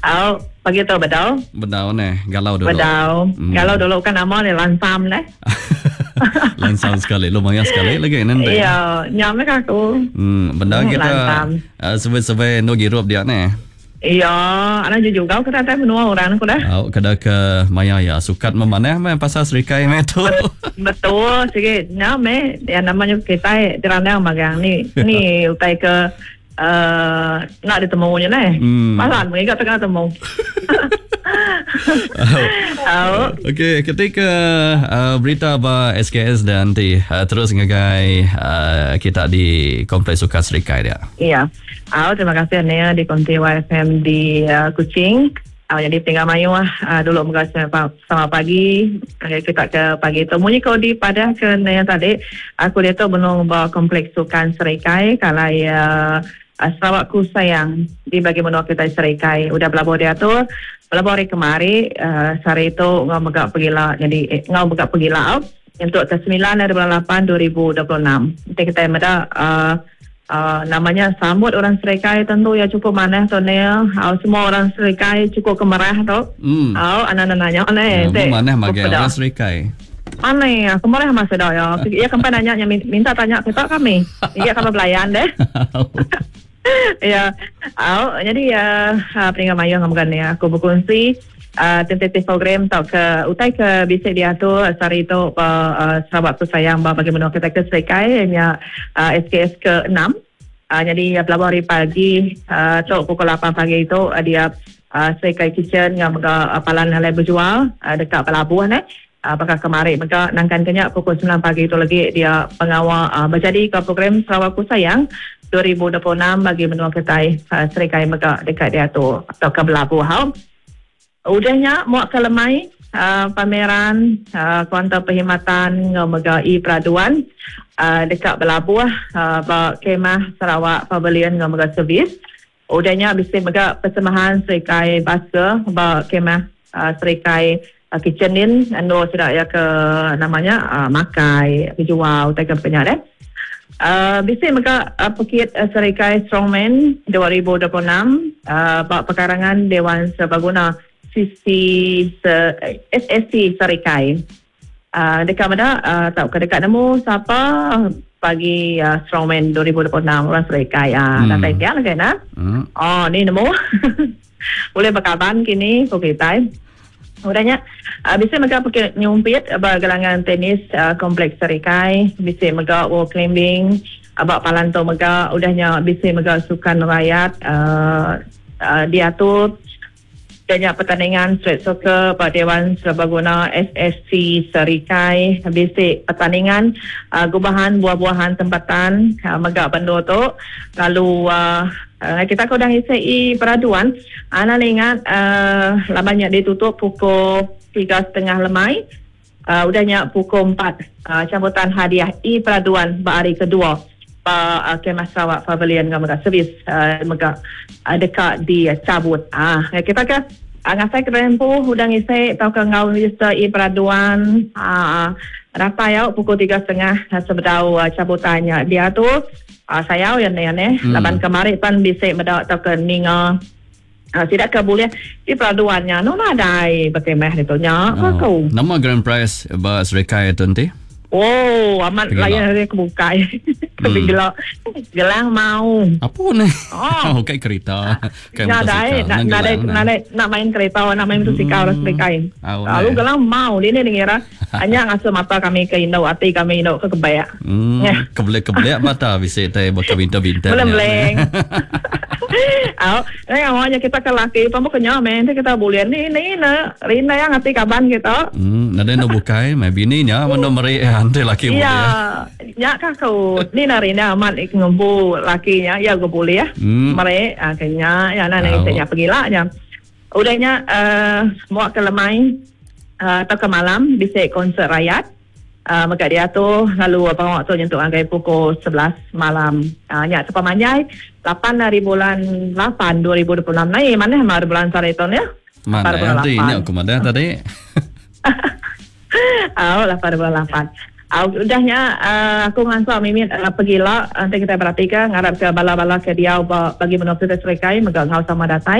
Au, pagi tu bedau. Bedau neh, galau dulu. Bedau. Hmm. Galau dulu kan nama ni lansam neh. Lansam sekali, lumayan sekali lagi nanti. Iya, nyam meh aku. Bendar kita uh, survey-survey endur girup dia neh. Iya, ana jujugau ke datai menua orang aku dah. Au, kada ke maya ya sukat memanah meh pasal serikai meh tu. Betul, sigi nyam meh yang namanya kitai dirandang magang ni. Ni utai ke Uh, nak ditemu nya neh. Malan mega tengah temu. Oh. Okey, ketika uh, berita ba SKS dan nanti terus ngagai uh, kita di Kompleks Sukan Serikai dia. Ya. Oh, terima kasih Nia di Konti YFM di Kuching. Jadi tinggal mayuh dulu mega selamat pagi ngagai kita ke pagi tu. Munyi ko di padah ke Nia tadi, aku diatu benung ba Kompleks Sukan Serikai kalai Sarawak Ku Sayang di bagi menua kitai Serikai udah belabuh diatur belabuh hari kemari sehari tu enggau mega pegila nyadi enggau mega pegila nyentuk ke semilan ari bulan lapan 2026. Enti kitai meda Uh, nama nya sambut orang Serikai tentu iya cukup manah tu Neil. Au semua orang Serikai cukup kemerah tu. Au anak nanya ne. Ya, manah magai orang Serikai. Aneh, aku merah masa dah ya. Iya kempai nanya nya minta tanya kita kami. Iya kami belayan deh. Ya. Au jadi uh, peninggal mayuh ngam ni aku berkongsi tentatif program tau ke utai ke bisi diatur sehari tu ba Sarawak Tu Sayang ba bagi menua kitai ke Serikai nya SKS ke 6. Jadi belabuh hari pagi tu pukul 8 pagi tu dia Serikai Kitchen enggau mega palan alai bejual deka belabuh neh. Baka kemari mega nangkan ke nya pukul 9 pagi tu lagi dia pengawa bejadi ke program Sarawak Ku Sayang 2026 bagi menua kitai Serikai mega deka diatur tauka belabuh. Udah nya muak ke lemai pameran Kuantar Perkhidmatan enggau mega e-peraduan deka belabuh ba Kemah Sarawak Pavilion enggau mega servis. Udah nya bisi mega persembahan Serikai Basker ba Kemah Serikai Kitchen din endur sida iya ke nama nya makai bejual utai ke baka nya deh. Bisi mega pekit Serikai Strongman 2026 ba pekarangan Dewan Serbaguna CC SSC Serikai. Deka meda tauka deka nemu sapa bagi Strongman 2026 orang Serikai datai pia lagi nah. Oh ni nemu. Ulih bekaban kini ku kitai. Udah nya bisi mega pekit nyumpit ba gelangan tenis Kompleks Serikai, bisi mega wall climbing ba palan tu mega. Udah nya bisi mega sukan rayat diatur. Udah nya pertandingan street soccer ba Dewan Serbaguna SSC Serikai, bisi pertandingan gubahan buah-buahan tempatan mega ba endur tu. Lalu kita ke udah ngisi i peraduan anang ingat laban nya ditutup pukul tiga setengah lemai udah nya pukul empat cabutan hadiah i peraduan ba hari kedua ba Kemah Sarawak Pavilion enggau mega servis mega deka dicabut. Kita ke ngasai kedai empu udah ngisi tauka enggau register i peraduan datai au pukul tiga setengah sebedau cabutan nya diatur. Sayau iya neh neh laban kemari pan bisi meda tauka ninga sida ke bulih ti peraduan nya anu nadai bekemah ditu nya ko aku. Nama grand prize ba serikai tu enti? Oh amat layan ari ke bukai. Gela gelang mau. Apu neh. Oh. Ukai kerita. Ukai motosikal. Nadai nadai nadai nak main kerita nak main motosikal orang serikai. Lalu gelang mau dini ngira Anya ngasuh mata kami ke indu ati kami indu ke kebek. Hmm, kebelik-kebelik mata bisi tai baka bintang-bintang. Beleng-beleng. Au, eh awaknya kita ke laki pun bukan nya meh kita boleh ni ni ne rindang ati kaban kita. Nadai endo bukai meh bini nya meno meri enti laki boleh. Ya, nya ka aku ni na rindang amat ngempu laki nya ya go boleh. Meri ke nya ya na isi nya pegila nya. Udah nya muak ke lemai tauka malam bisi konsert rayat mega diatur lalu pengawa tu nyentuk ngagai pukul 11 malam. Nya sepemanjai lapan hari bulan lapan 2026 nai manah mah hari bulan sehari tu nya. Manah enti nya ku madah tadi. Au lapan hari bulan lapan. Udah nya aku ngansa mimit pegila enti kitai beratika ngarapka bala-bala ke diau ba bagi menua pesisir Serikai mega enggau sama datai.